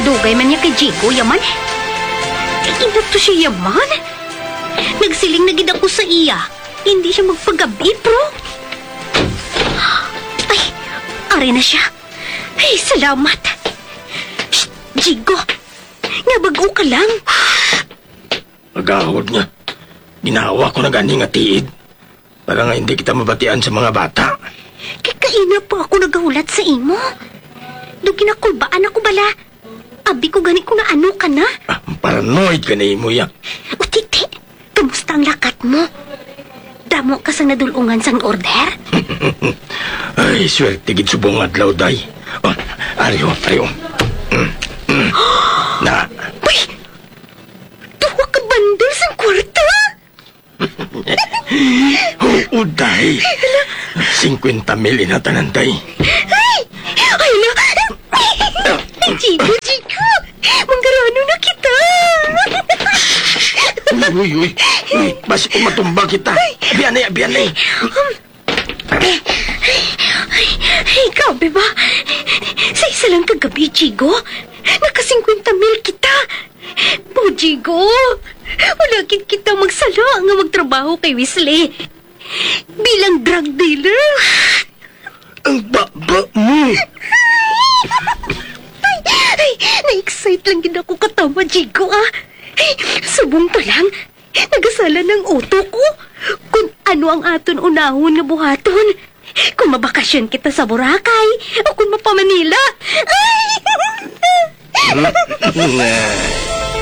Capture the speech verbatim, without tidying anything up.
Dugay man niya kay Jigo, yaman. Kay ina to siya, yaman. Nagsiling na gid ako sa iya, hindi siya magpagabi, bro. Ay, ari na siya. Ay, salamat. Shh, Jigo, nga bag-o ka lang. Agahod nga. Ginawa ko na gani nga tiid para nga hindi kita mabatian sa mga bata. Kay kaina pa ako nagahulat sa imo. Do ginakulbaan ako bala. Abi ko gani kung naano ka na. Ah, paranoid ka na imo ya. O, titi, kamusta ang lakat mo? Damo ka sang nadulungan sang order? Ay, swerte gid subong adlaw, day. Oh, ari o, ari o. Mm, mm. Na. Uy! Duha ka bandol sang kwarta? Oo, day. Singkwenta mil ina tanan, day. Ay! Ay, na! Ay, Chico, Chico! Manggarano na kita! Uy, uy, uy. Uy, basi kung matumba kita. Biyanay, biyanay. Ay, grabe ba? Sa isa lang ka gabi, Jigo, naka singkwenta mil kita. O, Jigo, wala gid kita magsala nga magtrabaho kay Wesley bilang drug dealer. Ang baba mo! Ay, ay, na-excite lang gid ako katama, Jigo, ah. Ay, subong pa lang, nagasala ng utok ko kung ano ang aton unahon nga buhaton. Kung mabakasyon kita sa Boracay o kung mapa-Manila. Ay!